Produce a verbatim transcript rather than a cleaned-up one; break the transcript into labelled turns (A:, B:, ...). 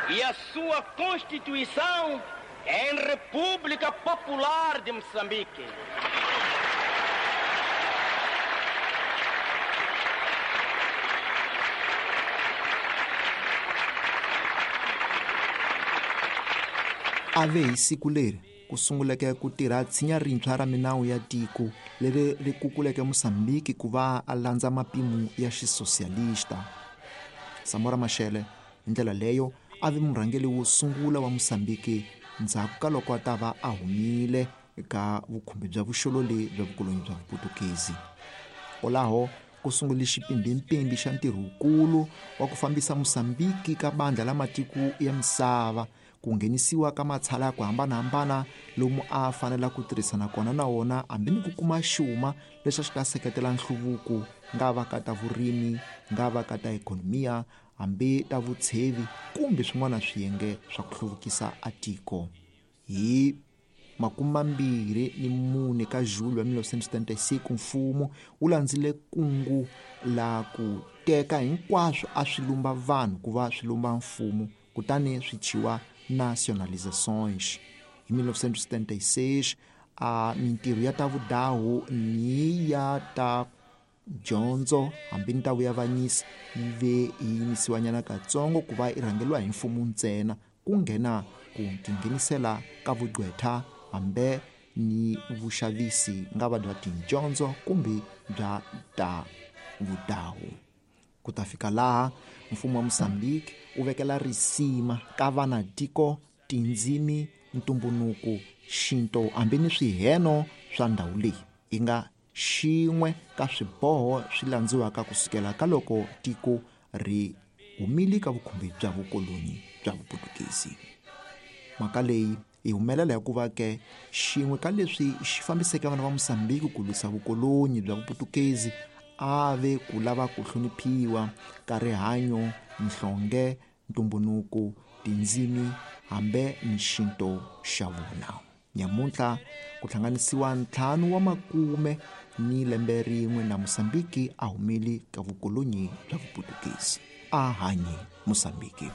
A: E a sua Constituição em República Popular de Moçambique.
B: Ave hi siku leri ku sunguleke ku tirha tshinya rintshwa ra minawu ya tiko leri ri kukuleke Mozambique ku va a landza mapimo ya xisosialista. Samora Machel hi ndlela leyo a vi murhangeri wo sungula wa Mozambique ndzhaku ka loko a ta va a humile eka vukhumbi bya vuxololi bya vukoloni bya Vuputukezi. Kwalaho ku sungule xipimbimpimbi xa ntirho wukulu wa ku fambisa Mozambique ka bandla la matiko ya misava, ku nghenisiwa ka matshala ya ku hambanahambana lomu a fanela ku tirhisana kona na wona hambi ni ku kuma xuma lexi a xi ta seketela nhluvuko nga va ka ta vurimi, nga va ka ta ikhonomiya, hambi ta vutshevi kumbe swin'wana swiyenge swa ku hluvukisa a tiko. Hi makumambirhi ni mune ka Julho wa mille neuf cent setenta-e-cinco mfumo wu landzile kungu la ku teka hinkwaswo a swi lumba vanhu ku va swi lumba mfumo, kutani swi thyiwa nationalizações. Hi mille neuf cent setenta-e-seis a mintirho ya ta vudahu ni ya ta dyondzo hambi ni ta vuyavanyisi yi ve yi yimisiwanyana katsongo ku va yi rhangeriwa hi mfumo ntsena, ku nghena ku tinghenisela ka vugqwetha hambi ni vuxavisi nga va bya tidyondzo kumbe bya ta vudahu. Ku ta fika laha mfumo wa Mozambique wu vekela risima ka vana tiko, tindzimi, ntumbunuko, xinto hambi ni swiheno swa ndhawu leyi yi nga xin'we ka swiboho swi landziwaka kusukela ka loko tiko ri humile ka vukhumbi bya vukoloni bya Vuputukezi. Mhaka leyi yi humelela hikuva ke xin'we ka leswi xi fambiseke vana va Mozambique ku lwisa vukoloni bya Vuputukezi a ve ku lava ku hloniphiwa ka rihanyo, nhlonge, ntumbunuko, tindzimi hambi ni xinto xa vona. Nyamuntlha ku hlanganisiwa ntlhanu wa makume ni lembe rin'we na Mozambique a humile ka vukoloni bya Vuputukezi. A hanyi Mozambique.